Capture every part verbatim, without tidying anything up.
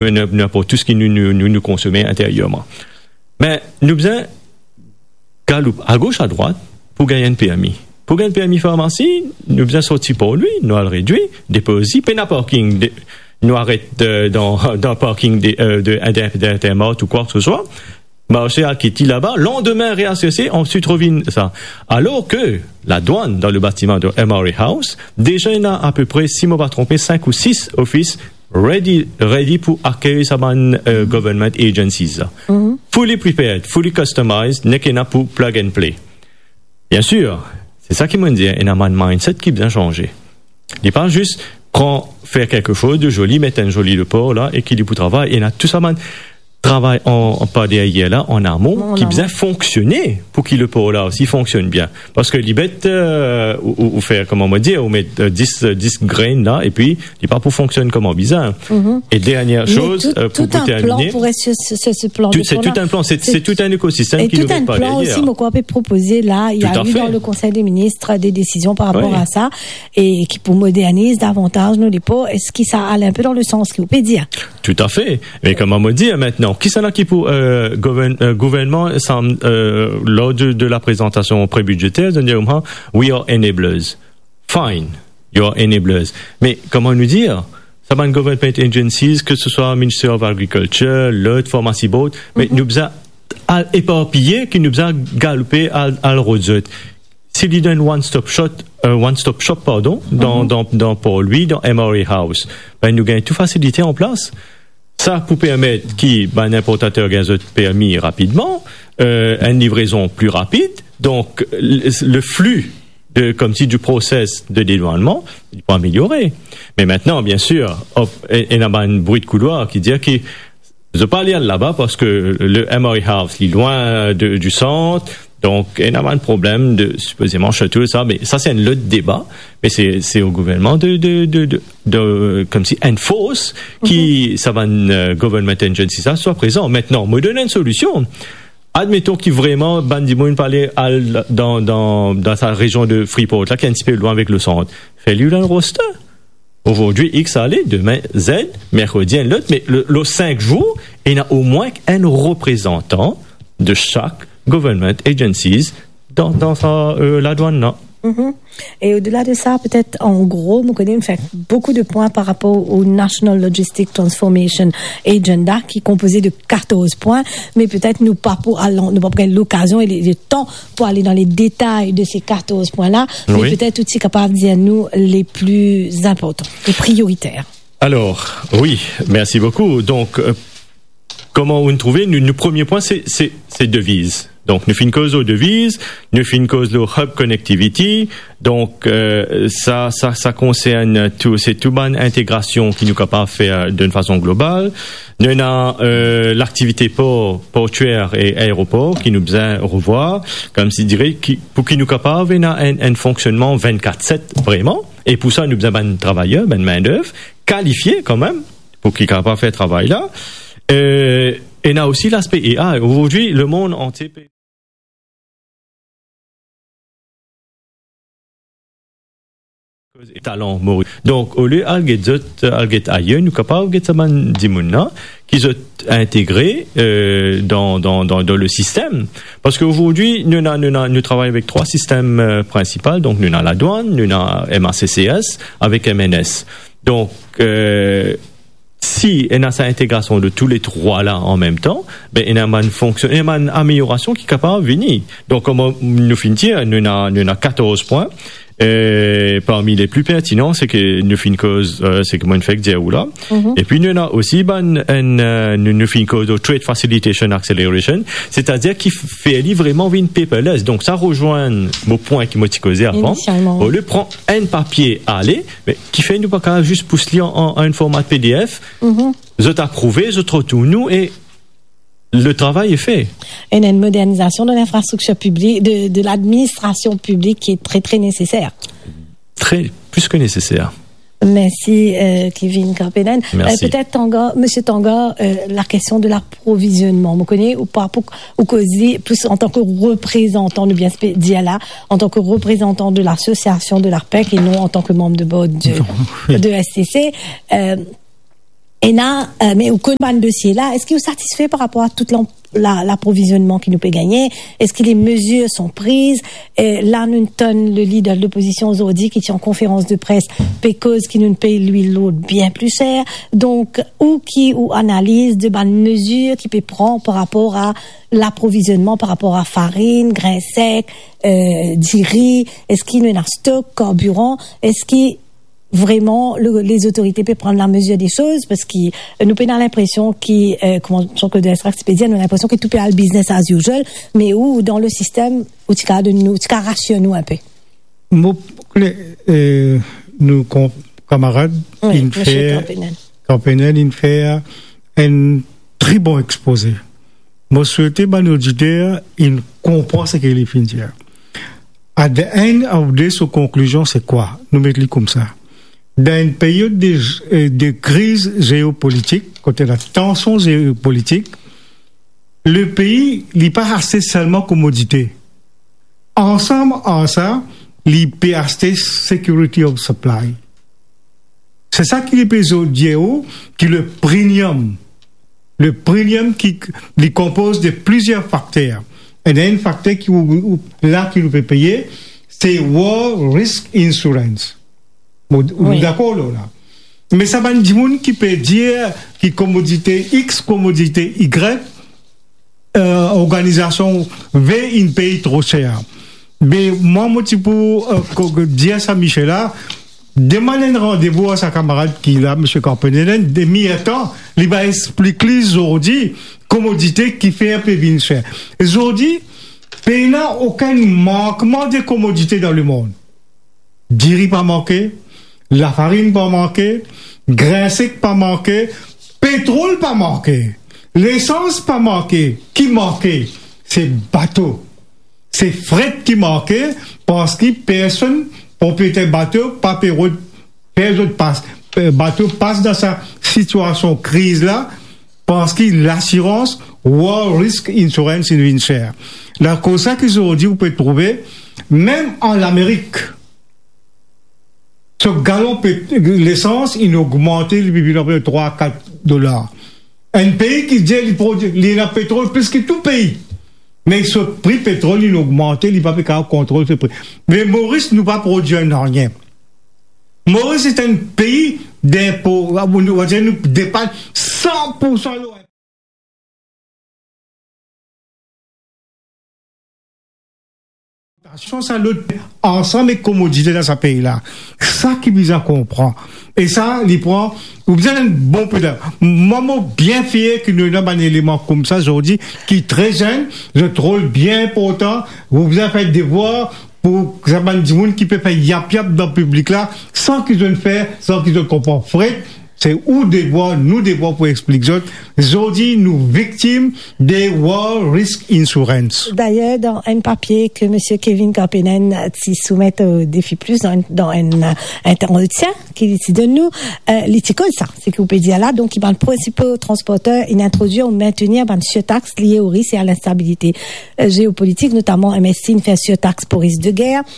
nou, nou aport tou seki nou, nou, nou, nou konsome interierman. Me nou bizin galoup agos adrwat pou gagn enn permi. Pou gagn permi farmasi, nou bizin sorti Port Louis, nou al Redwi, depoze, pena parking, de, nou aret, euh, dan, dan parking de, euh, de, de, de Intermarché ou kwa ke se swa. Marse al kit li laba, landime reasirte, answit revinn sa. Alor ke ladwann dan le batiman de M R A House, deza ena apepre, si mo pa tronpe, sink ou sis ofis ready, ready pou akeyir sa bann, euh, government agencies la. Fully prepared, fully customized, nek ena pou plug and play. Bien sûr, se sa ki mo dir, ena bann mindset ki bizin sanze. Li pa zis pran, fer kelke soz de zoli, met enn zoli lepor la e ki li pou travay. Ena tou sa bann travay an, an par deryer la, an amon, ki bizin fonksione pou ki lepor la osi fonksionn bien. Parski li bet, euh, ou, ou, ou fer, kouma mo dir, ou met, euh, dis, euh, dis grenn la, epi li pa pou fonksionn kouma bizin. E dernie soz, euh, pou, pou termine, se, se, se plan, se, se tout enn plan, se, se tout enn ekosistem ki nou met par deryer. Tout enn plan osi, mo krwar, pe propoze la, il y a eu dans le Conseil des ministres des décisions par rapport à ça, e ki pou moderniz davantaz nou lepor. Eski sa al enpe dan le sans ki ou pe dir? Toutafe. Me kouma mo dir, aster, kisannla ki pou, euh, gouvern-, euh, gouvernman, sa, euh, lor de, de la prezantasion pre-bidzeter, zot dir, we are enablers. Fine, you are enablers. Me kouma nou dir, sa bann government agencies, ke se swa Ministry of Agriculture, lot, Pharmacy Board, me nou bizin al eparpiye, ki nou bizin galoupe al, al rod zot. Si li dan one stop shop, euh, one stop shop, pardon, dan, dan, dan Port Louis, dan M R A House, be nou gagn tou fasilite an plas. Sa pou permet ki bann inportater gagn zot permi rapidman, euh, enn livrezon pli rapid. Donk, le, le flux de, koumsi, du process de dédouanement, li pou ameliore. Me aster, bien sûr, op-, e-, ena bann bri de koulwar ki dir ki zot pa ale al laba parski le M R A House, li lwin de, du sant, donk ena bann problem de, sipozeman, shuttle, sa, me sa, se enn lot deba, me se, se o gouvernman de, de, de, de, de, koumsi, enforce ki sa bann, euh, government agency sa swa prezan. Aster, mo donn enn solision. Admeton ki vreman bann dimoun pa ale al dan, dan, dan sa rezion de Freeport la, ki enn tipe lwin avek le sant. Fer li dan roster. Azordi X ale, demin Z, merkredi enn lot, me le, le sink zour, ena omwin enn reprezantan de sak government agencies dan, dan sa, euh, ladwann la. Mhm. E odela de sa, petet, an gro, mo kone nou fer boukou de pwin par rapor o National Logistic Transformation Agenda, ki konpoze de katorz pwin, me petet nou pa pou al, nou pa pou gagn lokazion e le, le tan pou ale dan le detay de se katorz pwin la, me petet ou ti kapav dir nou le pli inportan, le prioriter. Alor, wi, mersi boukou. Donk, euh, kouma ou trouve, nou, nou premie pwin, se, se, se deviz. Donk, nou finn koz lor deviz, nou finn koz lor hub connectivity. Donk, euh, sa, sa, sa konsern tou, se tou bann integrasion ki nou kapav fer dan enn fason global. Nou ena, euh, laktivite por, portyer e aeropor ki nou bizin revwar, koumsi dire, ki, pou ki nou kapav ena enn, enn fonksionnman vennkat set vreman. E pou sa, nou bizin bann travayer, bann mindev kalifie kanmem, pou ki kapav fer travay la. Euh, ena osi laspe A I. Azordi, lemond antie pe talan Moris. Donk, olie al get zot, al get ayer, nou kapav get sa bann dimoun la, ki zot integre, euh, dan, dan, dan, dan le sistem. Parski azordi, nou ena, nou ena, nou travay avek trwa sistem, euh, prinsipal. Donk, nou ena ladwann, nou ena M A C C S, avek M N S. Donk, euh, si ena sa integrasion de tou le trwa la an mem tan, be, ena bann fonksion-, ena bann ameliorasion ki kapav vini. Donk, kouma nou finn dir, nou ena, nou ena katorz pwin. Euh, parmi le pli pertinan, seki nou finn koz, euh, seki mo'nn fek dir ou la. Mhm. Epi nou ena osi bann, enn, euh, nou, nou finn koz de Trade Facilitation Acceleration, setadir ki f-, fer li vreman vinn paperless. Donk, sa rezwenn mo pwin ki mo ti koze avan. Inisialman, wi. Olie pran enn papie ale, me kifer nou pa kapav zis pous li an, an, an forma P D F, mhm, zot aprouve, zot retourn nou e le travay est fait. Ena enn modernizasion de linfrastriktir piblik, de, de ladministrasion piblik ki tre, tre neseser. Tre, plis ke neseser. Mersi, euh, Kevin Karpenen. Mersi. Euh, petet Tanguy, Misie Tanguy, euh, lakestion de laprovizionnman. Mo kone ou pa pou, ou koze plis antan ke reprezantan, nou bien pe dir la, antan ke reprezantan de lasosiasion de l'ARPEC e non antan ke manm de board de, de S T C. Euh, Ena, euh, me ou konn bann dosie la, eski ou satisfe par rapor a tout la, laprovizionman ki nou pe gagne? Eski les mesures sont prises? Euh, la nou tann le leader de l'opposition zordi ki ti an konferans de pres, pe koz ki nou pey lwil lord bien pli ser. Donk, ou ki ou analiz de bann mezir ki pe pran par rapor a laprovizionman, par rapor a farinn, grin sek, euh, diri, eski nou ena stok, karbiran, eski vreman le, les autorités pe pran lamezir de soz? Parski, euh, nou pena linpresion ki, euh, kouma Jean-Claude Delestrac ti pe dir, nou ena linpresion ki tou pe al business as usual, me ou, dan le sistem, ou ti kav donn nou, ou ti kav rasir nou inpe. Mo, euh, nou kon-, kamarad, wi, inn fer, Kampenel. Kampenel inn fer enn tre bon expoze. Mo swete bann oditer inn konpran seki li finn dir. At the end of the day, so konklizion se kwa? Nou met li koumsa. Dan enn period de, euh, de kriz zeopolitik, kot ena tansion zeopolitik, le pei, li pa aste selman komodite. Ansam ar sa, li pe aste security of supply. Se sa ki li pe dir ou, ki le premium, le premium ki, li konpoz de plizier fakter. Ena enn fakter ki ou, ou, la ki nou pe peye, se war risk insurance. Bon, nou, wi, dakor la, la. Me sa bann dimoun ki pe dir ki komodite X, komodite Y, euh, organizasion V inn pey tro ser. Me mwa, mo ti pou, euh, ko-, dir sa misie la, demann enn randevou a sa kamarad ki la, misie Kampenel, enn demi-er tan, li va explik li zordi komodite kifer pe vinn ser. Zordi, pena okenn mankman de komodite dan lemond. Diri pa manke, lafarinn pa manke, grin sek pa manke, petrol pa manke, lesans pa manke. Ki manke? Se bato. Se fret ki manke, parski personn, propriyeter bato, pa pe rod-, fer zot pas, eh, bato pas dan sa sitiasion kriz la, parski lasirans, war risk insurance, inn vinn ser. Lakoz sa ki zordi ou pe trouve, mem an Lamerik, so galon pet-, lesans inn ogmante, li vinn ape trwa, kat dolar. Enn pei ki dir li prodwi, li ena petrol plis ki tou pei. Me so pri petrol inn ogmante, li pa pe kapav kontrol so pri. Me Moris, nou pa prodwir nanye. Moris se enn pei dinpo, nou, nou depann san pour san lor Sa lot, ansam ek komodite dan sa pei la. Sa ki bizin konpran. E sa, li pran, ou bizin enn bon peda. Mwa, mo bien fier ki nou ena bann eleman koumsa zordi, ki tre zenn, zot rol bien inportan, ou bizin fer devwar pou sa bann dimoun ki pe fer yap-yap dan piblik la, san ki zot fer, san ki zot konpran fret, se ou devwar, nou devwar pou explik zot. Zordi, nou viktim de war risk insurance. Dayer, dan enn papie ke misie Kevin Kampenel ti soumet o Defi Plus, dan enn, dan enn, euh, entretien ki li ti donn nou, euh, li ti koz sa, seki ou pe dir la, donk, ki bann prinsipo transporter inn introdwir ou mintenir bann sirtax lie o risk e a linstabilite, euh, zeopolitik, notaman M S C inn fer sirtax pou risk de guerre,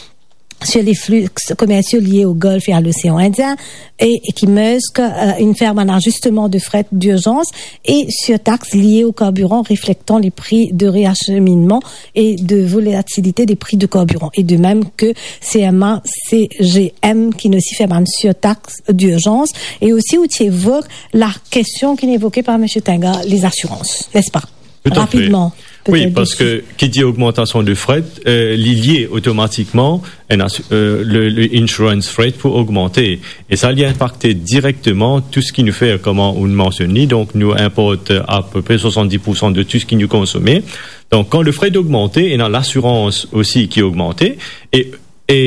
sur les flux commerciaux liés au Golfe et à l'océan Indien, et, et ki Maersk, euh, inn fer bann azisteman de fret dirzans e sirtax lie o karbiran reflektan les prix de réacheminement et de volatilité des prix de carburant. Et de même que C M A C G M ki inn osi fer bann sirtax dirzans. E osi, ou ti evok la kestion ki inn evoke par misie Tinga, les assurances, n'est-ce pas? Tout à fait. Rapidman, wi, petet, parski ki dir ogmantasion de fret, euh, li lie otomatikman enn asu-, euh, le, le insurance fret pou ogmante. E sa, li inpakte direkteman tou seki nou fer, kouma ou mansionn li. Donk, nou inport, euh, apepre swasanndis pour san de tou seki nou konsome. Donk, kan le fret ogmante, ena lasirans osi ki ogmante. E, e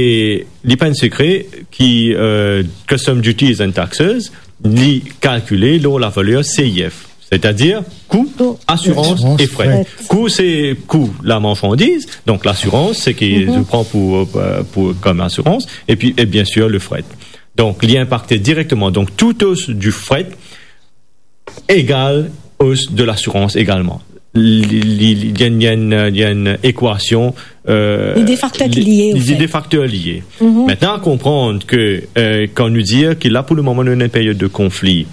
li pa enn sekre ki, euh, Custom Duties and Taxes, li kalkile lor lavaler C I F, setadir kou, asirans e fret. Kou, se kou lamarsandiz, donk lasirans, seki ou pran pou, euh, pou, kom asirans, epi, e biensir, le fret. Donk, li inpakte direkteman. Donk, tout os du fret egal os de lasirans egalman. Li, li, li, li enn, li enn, li enn ekwasion, euh, li de fakter ki lie, li, li de fakter lie. Mintnan, konpran ke, euh, kan nou dir ki la, pou le moman, nou dan enn period de konfli,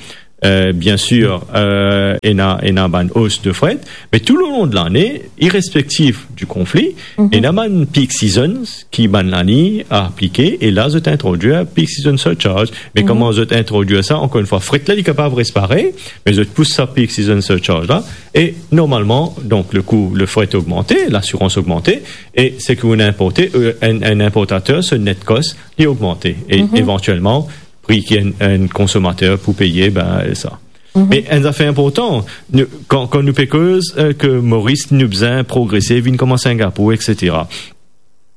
Euh, bien sûr, euh, ena, ena bann os de fret, me tou le long de lane, irespektif di konfli, ena bann peak seasons ki bann lagny aplike, e la zot introdwir peak season surcharge. Me kouma zot introdwir sa, ankor enn fwa, fret la, li kapav res parey, me zot pous sa peak season surcharge la, e normalman, donk, le kou, le fret ogmante, lasirans ogmante, e seki ou inporte, euh, enn, enn inportater, so net cost, li ogmante. E evantielman, pri ki enn, enn konsomater pou peye, ben, sa. Me enn zafer inportan, nou, kan, kan nou pe koz, euh, ke Moris nou bizin progrese, vinn kouma Singapour, et cetera.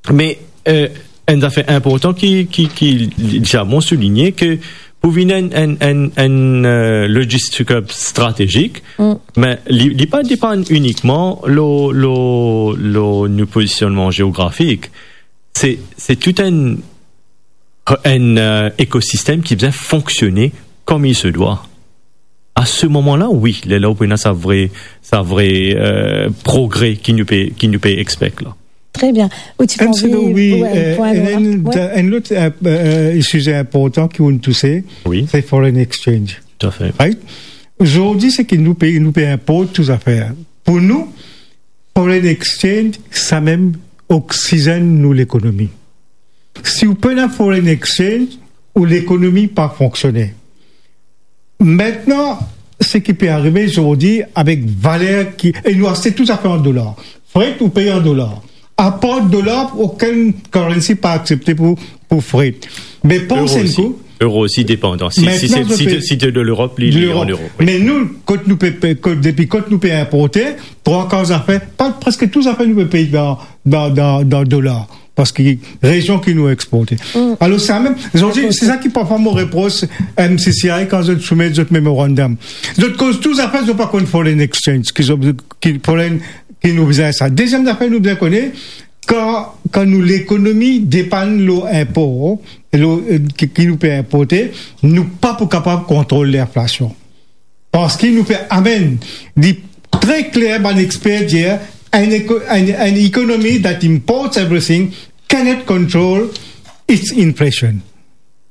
Me, euh, enn zafer inportan ki, ki, ki, li, li a bon souligne ke pou vinn enn, enn, enn, enn, euh, logistik stratezik, me li, li pa depann inikman lo, lo, lo nou pozisionnman geografik. Se, se tou enn, enn, euh, ekosistem ki bizin fonksione comme il se doit. A se moman la, wi, lerla ou pou ena sa vre, sa vre, euh, progre ki nou pe, ki nou pe expect la. Tre bien. Ou ti pe anvi, wi, wi, euh, pwin enn, lot, wi, enn lot, euh, euh, size inportan ki ou touse, wi, se foreign exchange. Toutafe. Right? Zordi, seki nou pe, nou pe inport tou zafer. Pou nou, foreign exchange, samem oksizenn nou lekonomi. Si ou pena foreign exchange, ou lekonomi pa fonksione. Aster, seki pe arive zordi avek valer ki, e nou aste tou zafer an dolar. Fret, ou pey an dolar. Apar dolar, okenn currency pa aksepte pou, pou fret. Me pans enn kou. Euro osi depandan. Si, si se, si te, si te de Lerop, li, li an euro. Lerop. Wi. Me nou, kot nou pe, pe, kot, depi kot nou pe inporte, trwa kar zafer, pa, preske tou zafer nou pe pey dan, dan, dan, dan dolar. Parski rezon ki nou exporte. Alor, samem, zordi, se sa ki parfwa mo repros M C C I kan zot soumet zot memorandum. Zot koz tou zafer, zot pa konn foreign exchange, ki zot, ki foreign, ki nou bizin sa. Deziem zafer nou bizin kone, kan, kan nou lekonomi depann lo inpor, lo, euh, ki, ki nou pe inporte, nou pa pou kapav kontrol linflasion. Parski nou pe amenn, li tre kler, bann exper dir, an eko-, an, an economy that imports everything cannot control its inflation.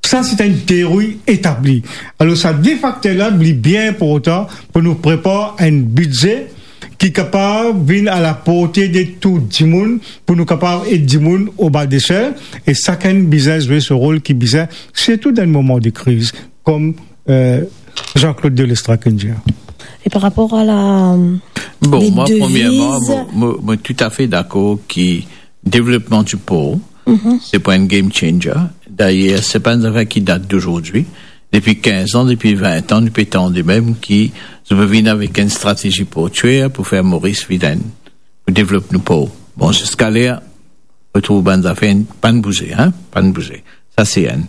Sa, se enn teori etabli. Alor, sa de fakter la, li bien inportan pou nou prepar enn bidze ki kapav vinn a la porte de tou dimoun, pou nou kapav ed dimoun o ba de sel, e sakenn bizin zwe so rol ki bizin, sirtou dan moman de kriz, kom, euh, Jean-Claude Delestra ki dir. E par rapor a la, euh, les devises. Bon, mwa, premierman, mo, mo, mo toutafe dakor ki devlopman di por, se pa enn game changer. Dayer, se pa enn zafer ki dat dozordi. Depi kinz an, depi vin an, nou pe tande mem ki zot pe vinn avek enn stratezi portyer pou fer Moris vinn enn, pou devlop nou por. Bon, ziska ler, nou trouv bann zafer pa'nn bouze, hein, pa'nn bouze. Sa se enn.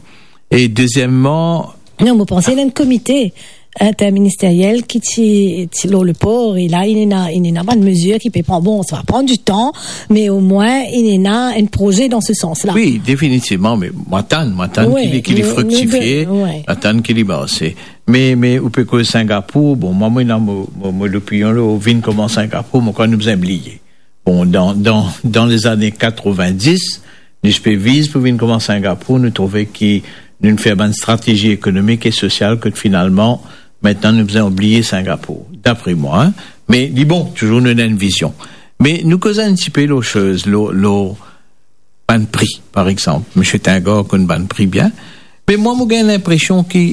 E dezieman, non, mo panse ena enn komite interministeriel ki ti, ti lor le por, e la, ena, ena bann mezir ki pe pran. Bon, sa va pran ditan, me omwin, ena enn proze dan se sans la. Wi, definitivman, me mo atann, mo atann ki li, ki li friktifie, mo atann ki li marse. Me, me ou pe koz Singapour, bon, mwa, mo ena mo, mo, mo lopinion, la, ou vinn kouma Singapour, mo krwar nou bizin bliye. Bon, dan, dan, dan lezane katrovin-dis, nou ti pe viz pou vinn kouma Singapour, nou trouve ki nou fer bann stratezi ekonomik e sosial kot finalman, aster nou bizin oubliye Singapour, dapre mwa, hein. Me li bon, touzour nou ena enn vizion. Me nou koz enn tipe lor soz, lor, lor bann pri, par exanp. Misie Tingar konn bann pri bien. Me mwa, mo gagn linpresion ki,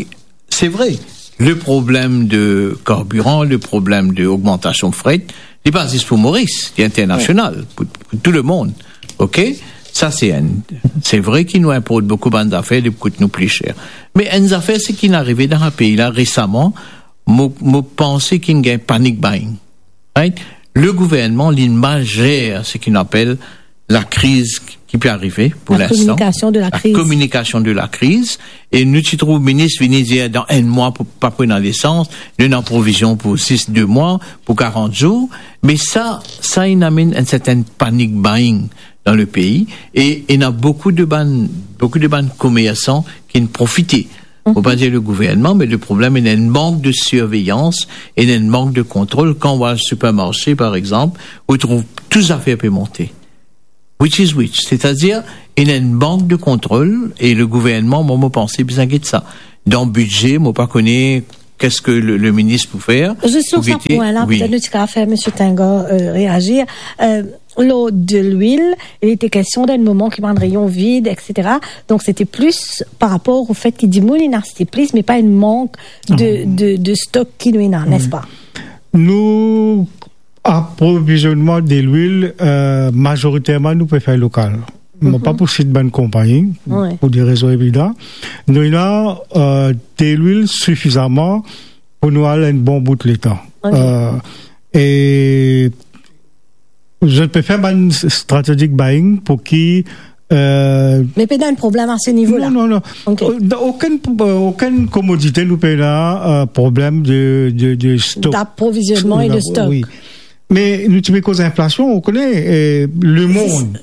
se vre, le problem de karbiran, le problem de ogmantasion fret, li pa zis pou Moris, li internasional, pou, pou tou lemond. Ok? Sa, se enn, se vre ki nou inport boukou bann zafer, li kout nou pli ser. Me enn zafer, seki inn arive dan sa pei la resaman, mo, mo panse ki inn gagn panic buying. Right? Le gouvernman, li mal zer seki nou apel lakriz ki pe arive pou linstan. La communication de la crise. La communication de la crise. E nou ti trouv minis vini dir dan enn mwa pou pa pran lesans, nou ena provizion pou zis de mwa, pou karant zour. Me sa, sa inn amenn enn sertenn panic buying dan le pei. E ena boukou de bann, boukou de bann komersan ki'nn profite. Mo pa dir le gouvernman, me le problem, ena enn mank de sirveyans, ena enn mank de kontrol. Kan ou al sipermarse, par exanp, ou trouv tou zafer pe monte. Which is which? Setadir, ena enn mank de kontrol, e le gouvernman, mwa, mo panse, bizin get sa. Dan bidze, mo pa kone qu'est-ce que le, le ministre pou fer? Zis lor sa pwin la, wi, petet nou ti kapav fer Misie Tinga, euh, reazir. Euh, lor delwil, il était question dan enn moman ki bann reyon vid, et cetera. Donk, se ti plis par rapor o fet ki dimoun inn aste plis, me pa enn mank de, de, de stok ki nou ena, nespa? Nou, aprovizionman delwil, euh, mazoriterman, nou pe fer lokal. Mo pa pou sit bann konpagni, wi, pou de rezon evidan. Nou ena, euh, delwil sifizaman pou nou al enn bon bout letan. Ok. Euh, e zot pe fer bann strategic buying pou ki, euh, me pena enn problem a se nivo la? Non, non, non. Ok. Euh, dan okenn, euh, okenn komodite nou pena, euh, problem de, de, de stok. D'approvisionnement et de stock. Wi. Me nou ti pe koz inflasion, ou kone, eh, lemond,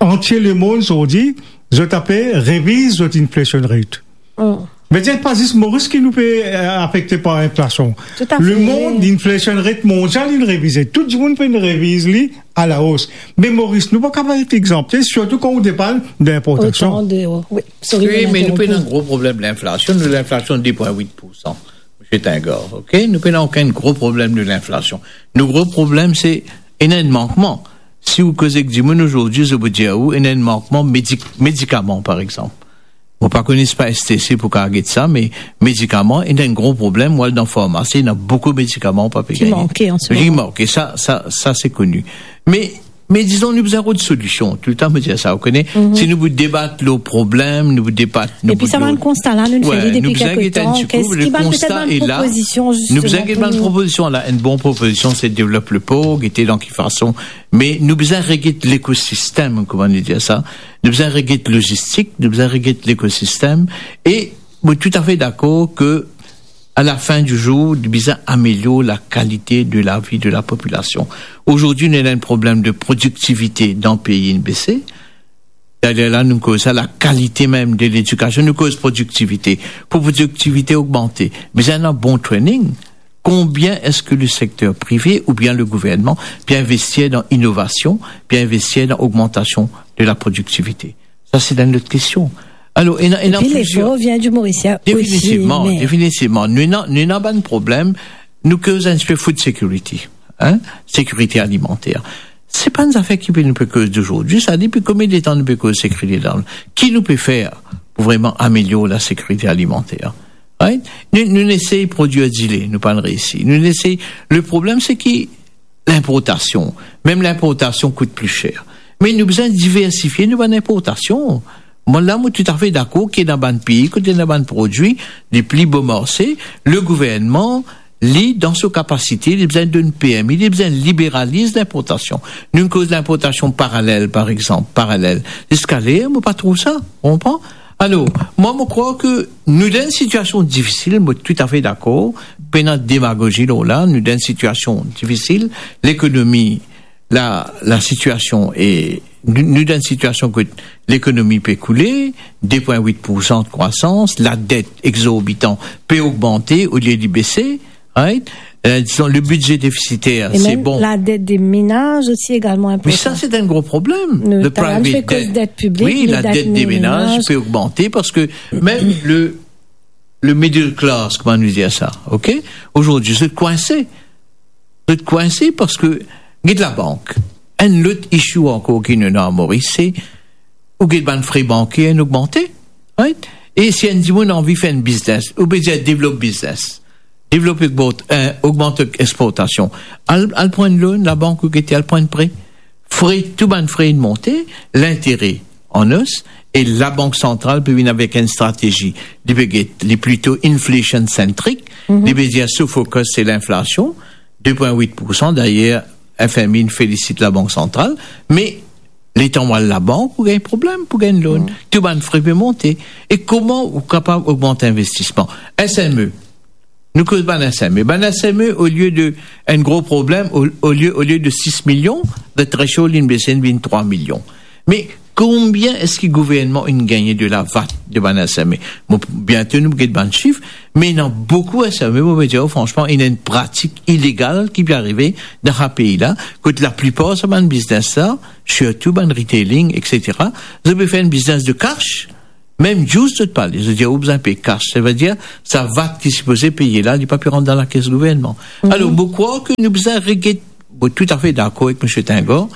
antie lemond, zordi, zot ape reviz zot inflation rate. Mm. Vedir, pa zis Moris ki nou pe, eh, afekte par inflasion. Toutafe. Lemond, inflation rate mondial, li revize. Tou dimoun pe reviz li a la os. Me Moris, nou pa kapav et egzanpte, sirtou kan ou depann d'inportasion. Otan de, wi, sorry, wi, mo me nou pe interrompu. Ena enn gro problem linflasion. Nou, linflasion de pwin wit poursan. Misie Tinga, ok? Nou pena okenn gro problem de linflasion. Nou gro problem, se ena enn mankman. Si ou koze ek dimoun azordi, zot pou dir ou, ena enn mankman medik-, medikaman, par exanp. Mo pa kone si pa S T C pou kapav get sa, me medikaman, ena enn gro problem. Ou al dan farmasi, ena boukou medikaman ou pa pe gagne. Ki manke an se moman. Ki manke, sa, sa, sa se koni. Me Me dizon, nou bizin rod solision. Toultan mo dir sa, ou kone, si nou pou debat lor problem, nou pou debat, nou pou... Epi sa bann konsta la, nou fer li depi kelke tan. Wi, nou bizin get enn ti kou, le konsta e la. Ki bann, petet bann propozision, zisteman, nou bizin get bann propozision la. Enn bon propozision, se devlop lepor, gete dan ki fason. Me nou bizin reget lekosistem, kouma nou dir sa. Nou bizin reget lozistik, nou bizin reget lekosistem. E mo toutafe dakor ke a la fin di zour, li bizin amelior lakalite de lavi de lapopilasion. Azordi, nou ena enn problem de prodiktivite dan pei, inn bese. Dayer la, nou koz sa, lakalite mem de ledikasion, nou koz prodiktivite. Pou prodiktivite ogmante, bizin ena bon training. Konbien eski le sekter prive oubien le gouvernman pe investir dan inovasion, pe investir dan ogmantasion de laprodiktivite? Sa, se enn lot kestion. Alor, ena, ena plizier. Epi lefor vinn di Morisien osi, definitivman, me definitivman. Nou ena, nou ena bann problem, nou koz enn tipe food security, hein, sekirite alimanter. Se pa enn zafer ki pe, nou pe koz azordi, sa depi konbien letan nou pe koz sekirite alimanter? Ki nou pe fer pou vreman amelior lasekirite alimanter? Right? Nou, nou esey prodwir dile, nou pa'nn reysi. Nou esey, le problem, se ki linportasion. Mem linportasion kout pli ser. Me nou bizin diversifie nou bann inportasion. Mwa la, mo toutafe dakor ki ena bann pei kot ena bann prodwi, li pli bon marse, le gouvernman, li, dan so kapasite, li bizin donn permi, li bizin liberaliz linportasion. Nou koz linportasion paralel, par exanp, paralel. Ziska ler, mo pa trouv sa, ou konpran? Alor, mwa, mo krwar ke nou dan enn sitiasion difisil, mo toutafe dakor, pena demagozi lor la, nou dan enn sitiasion difisil, lekonomi, la, lasitiasion e, nou, nou dan enn sitiasion kot lekonomi pe koule, de pwin wit poursan de krwasans, ladet egzorbitan pe ogmante olie li bese, right? Euh, dizon, le bidze defisiter, se bon. E mem ladet de menaz osi egalman inportan. Wi, sa, se enn gro problem. Nou, le private debt. Wi, ladet de menaz pe ogmante parski mem le, le middle class, kouma nou dir sa, ok? Azordi, zot kwinse. Zot kwinse parski, get labank. Enn lot issue ankor ki nou ena Moris, se ou get bann fre banker inn ogmante, right? E si enn dimoun anvi fer enn biznes, ou pe dir devlop biznes, devlop eksport-, eh, ogmant eksportasion. Al, al pran enn loan, labank ou gete, al pran enn pre. Fre, tou bann fre inn monte, lintere an os, e Labank Santral pe vinn avek enn stratezi. Li pe get, li plito inflation centric, li pe dir so focus se linflasion, de pwin wit poursan. Dayer, F M I inn felisit Labank Santral, me letan ou al labank, ou gagn problem pou gagn loan. Tou bann fre pe monte. E kouma ou kapav ogmant linvestisman? S M E. Nou koz bann S M E. Bann S M E, olie de enn gro problem, o-, olie, olie de sis milion, the threshold inn bese, inn vinn trwa milion. Me konbien eski gouvernman inn gagne de la vat de bann S M E? Bon, biento nou get bann sif, me ena boukou S M E, mo pe dir ou fransman, ena enn pratik ilegal ki pe arive dan sa pei la, kot laplipar sa bann biznes la, sirtou bann retailing, et cetera, zot pe fer enn biznes de cash, Mem juice zot pa le, zot dir ou bizin pey kas, savedir sa vat ki sipoze peye la, li pa pe rant dan lakes gouvernman. Alor, mo krwar ke nou bizin reget, mo toutafe dakor ek Misie Tingor,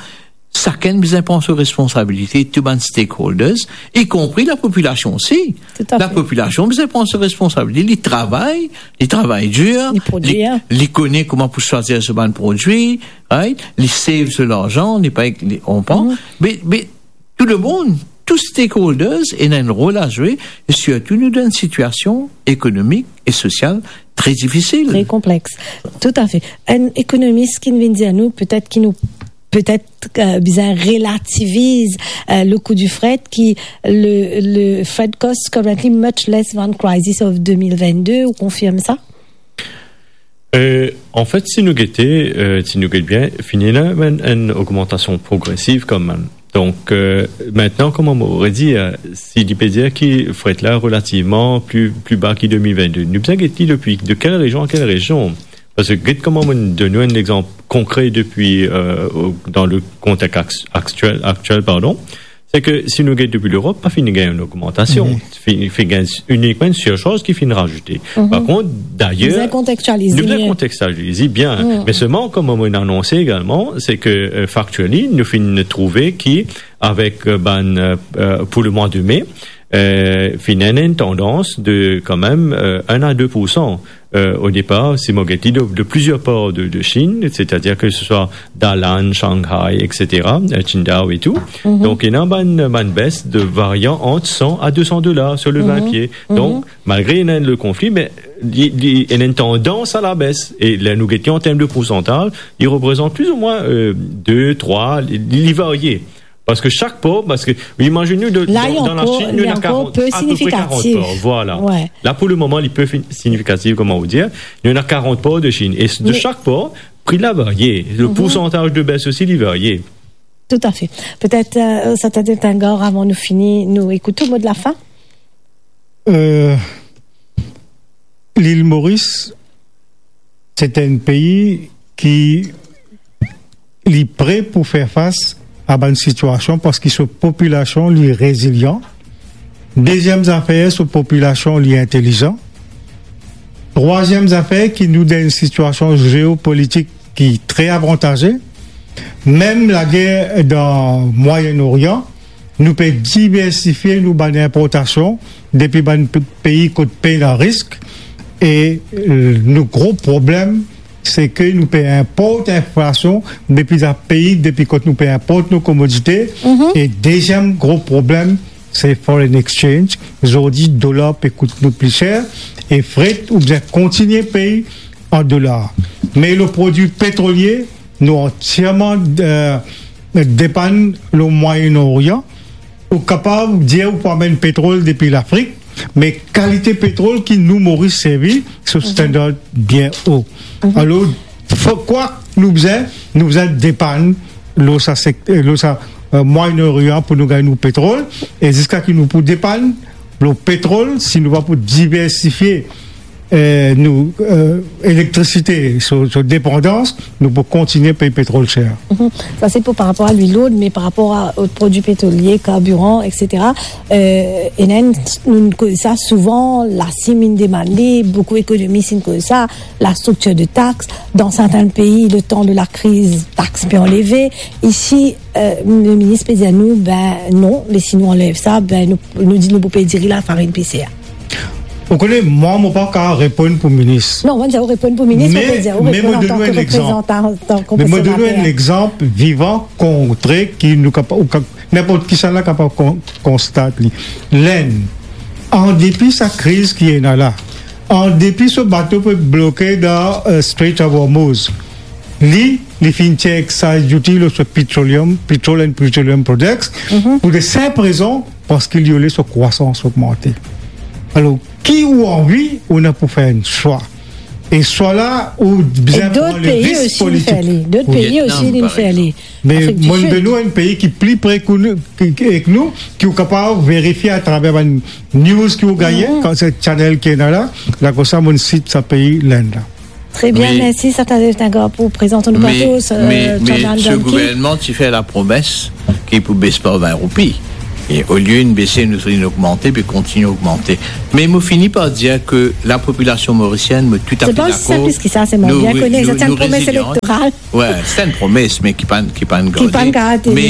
sakenn bizin pran so responsabilite, tou bann stakeholders, ikonpri lapopilasion osi. Toutafe. Lapopilasion bizin pran so responsabilite, li travay, li travay dir, li prodwir, li, li kone kouma pou swazir so bann prodwi, right? Li save so larzan, li pa, li, ou konpran? Me, me tou lemonn, tou stakeholders ena enn rol a zwe, e sirtou nou dan enn sitiasion ekonomik e sosial tre difisil. Tre konplex. Toutafe. Enn ekonomis ki vinn dir nou, petet ki nou, petet, euh, bizin relativiz, euh, le kou di fret, ki le, le fret cost currently much less than crisis of deux mille vingt-deux, ou konfirm sa? Euh, anfet, si nou gete, euh, si nou get bien, fini la, enn, enn ogmantasion progresiv kanmem. Donk, euh, aster, kouma mo redi, euh, si li pe dir ki fret la relativman pli, pli ba ki deux mille vingt-deux, nou bizin get li depi de kel rezion a kel rezion? Parski get kouma mo donn ou enn lexanp konkre depi, euh, o, dan le kontext aks-, aktiel, aktiel, pardon, se ke si nou get depi Lerop, pa finn gagn enn ogmantasion. Finn, finn gagn inikman enn sirsarz ki finn razoute. Par kont, dayer, bizin kontekstialize, nou bizin kontekstialize bien. Me selman, kouma mo anonse egalman, se ke, euh, factually, nou finn trouve ki avek, euh, bann, euh, euh, pou le mwa de me, euh, finn ena enn tandans de kanmem, euh, enn a de poursan. Euh, o depar, si mo get li de, de plizier par de, de Chine, setadir ke se swa Dalian, Shanghai, et cetera, euh, Qingdao e tou. Donk, ena bann, bann bes de varian ant san a de san dolar sir le vin pie. Donk, malgre ena le konfli, me li, li, ena enn tandans a la bes. E ler nou get li an term de poursantaz, li reprezant pli ou mwin, euh, de, trwa, li, li varie. Parski sak por, parski, imazinn ou, de, la, dan, dan Lasinn, nou ena karant, apeprepre karant por. Vwala. La, pou le moman, li pe fin-, signifikatif, kouma ou dir, nou ena karant por de Chine. E de sak por, pri la varie. Le poursantaz de bes osi, li varie. Toutafe. Petet, euh, Satadin Tengor, avan nou fini, nou ekout ou mo de lafin? Euh, Lil Moris, se enn pei ki li pre pou fer fas a bann sitiasion parski so popilasion li rezilian. Deziem zafer, so popilasion li intelizan. Trwaziem zafer, ki nou dan enn sitiasion zeopolitik ki tre avantaze. Mem lager dan Mwayen Orian, nou pe diversifie nou bann inportasion depi bann pe-, pei kot pena risk, e, euh, nou gro problem, se ke nou pe inport inflasion depi sa pei, depi kot nou pe inport nou komodite. E deziem gro problem, se foreign exchange. Zordi, dolar pe kout nou pli ser, e fret, ou bizin kontigne pey an dolar. Me le prodwi petrolie, nou antierman, euh, depann le Mwayen Orian. Ou kapav dir ou pou amenn petrol depi Lafrik, me kalite petrol ki nou Moris servi, se standard bien o. Alor, fo-, kwa nou bizin, nou bizin depann lor sa sek-, euh, lor sa, euh, Mwayen Orian pou nou gagn nou petrol, e ziska ki nou pou depann lor petrol, si nou pa pou diversifie, euh, nou, euh, elektrisite, so, so depandans, nou pou kontigne pey petrol ser. Sa se pou par rapor a lwil lord, me par rapor a, o prodwi petrolie, karbiran, et cetera, euh, ena enn, nou koz sa souvan, Lasinn inn demann li, boukou ekonomis inn koz sa, la striktir de tax. Dan sertin pei, letan de lakriz, tax pe anleve. Isi, euh, le minis pe dir nou, be non, les nou anlev sa, be nou, nou dir nou pou pey diri, lafarin pe ser. Ou kone, mwa, mo pa kapav reponn pou minis. Non, mo pa dir ou reponn pou minis, mo pe dir ou reponn antan ke reprezantan, antan ke konservater. Me mo donn ou enn lexanp vivan, konkre, ki nou kapa-, ou ka-, ninport kisannla kapav kon-, konstat li. Lenn, an depi sa kriz ki ena la, an depi so bato pe bloke dan, euh, Strait of Hormuz, li, li finn tir excise duty lor so petroleum, petrol and petroleum products, pou de sinp rezon, parski li oule so krwasans ogmante. Alor, ki ou anvi, ou ena pou fer enn swa. E swa la, ou bizin pran le risk politik. Dot pei osi inn fer li. Dot pei osi inn fer li. Me Afrik di Sid. Mo donn ou enn pei ki pli pre ki nou, ki, ki, ek nou, ki ou kapav verifie atraver bann news ki ou gagne, kan se channel ki ena la, la koumsa mo sit sa pei, Lenn la. Tre bien, mersi, Satadin Tengor, pou prezans nou plato, euh, Chandan Duncan. Me, me so gouvernman ti fer lapromes ki pou bes par vin roupi. E olie inn bese, nou, nou ogmante, pe kontinie ogmante. Me mo fini par dir ke lapopilasion morisienn, mo toutafe dakor. Se pa osi sinp ki sa, se mwa. Nou, bien kone, nou, se enn nou promes rezilyan. Elektoral. Wi, se enn promes, me ki pa, ki pa garde. Ki pa garde, me,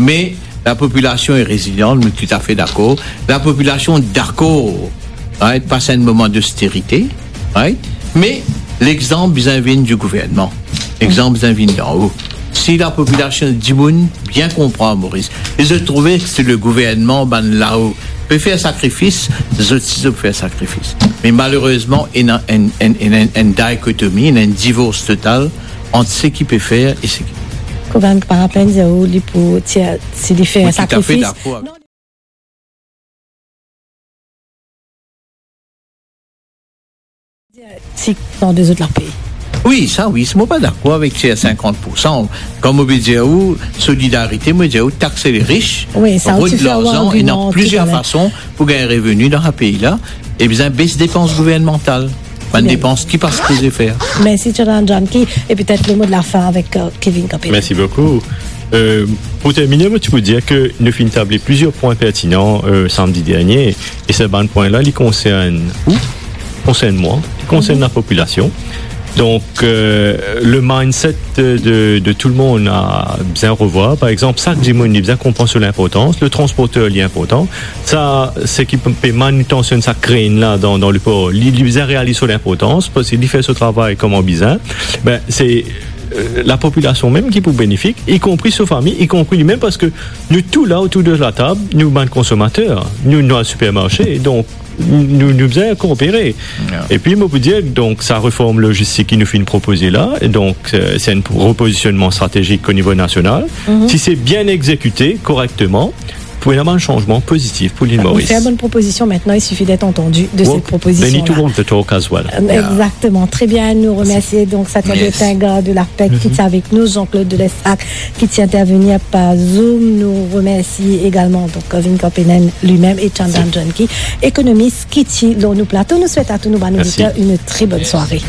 me lapopilasion e rezilyan, nou toutafe dakor. Lapopilasion dakor, right, pas enn moman dosterite, right? Me lexanp bizin vinn di gouvernman. Lexanp bizin vinn dan-o. Si lapopilasion, dimoun bien konpran Moris, e zot trouve si le gouvernman, bann lao, pe fer sakrifis, zot si zot pe fer sakrifis. Me malerezman, ena enn, enn, enn, enn, enn dikotomi, ena enn divors total ant seki pe fer e seki... Kouma par apel, dir ou li pou tir, si li fer sakrifis. Mo toutafe dakor avek... Non. Ti dan dezot lapey. Wi, sa wi, si mo pa dakor avek se sinkant poursan. Kan mo pe dir ou solidarite, mo dir ou takse le ris, wi, sa, rod larzan, ena plizier fason pou gagn reveni dan sa pei la, e bizin bes depans gouvernmantal. Bann depans ki pa sipoze fer. Mersi, Chandan Janki, e petet le mo de la fin avek, euh, Kevin Campbell. Mersi boukou. Euh, pou termine, mo ti pou dir ke nou finn table plizier pwin pertinan, euh, samdi dernie, e sa bann pwin la, li konsern ou, konsern mwa, li konsern lapopilasion. Donk, euh, le mindset de, de, de tou le mond a bizin revwar. Par exanp, sak dimoun, li bizin konpran so linportans, le transporter, li inportan. Sa, seki pe, pe manutansionn sa krenn la dan, dan lepor, li, li bizin realiz so linportans, parski li fer so travay kouma bizin. Be, se, euh, lapopilasion mem ki pou benefik, ikonpri so fami, ikonpri limem, parski nou tou la otour de latab, nou bann konsomater, nou, nou al sipermarse, donk nou, nou bizin koopere. Ya. Epi mo pou dir, donk, sa reform logistik ki nou finn propoze la, e donk, euh, se enn repozisionman stratezik o nivo nasional. Mhm. Si se bien exekite korekteman, pou ena bann sanzman pozitif pou lil Moris. Fer bann propozision, aster, il suffit d'être entendu de cette proposition-là. They need to walk the talk as well. Euh, exactement. Très bien. Nou remersi donk Satya Tengar de l'ARPEC ki ti avek nou, Jean-Claude Delessac ki ti intervenir par Zoom. Nou remersi egalman donk Kevin Campbell limem e Chandan Janki, ekonomis ki ti lor nou plato. Nou swet a tou nou bann oditer une très bonne soirée.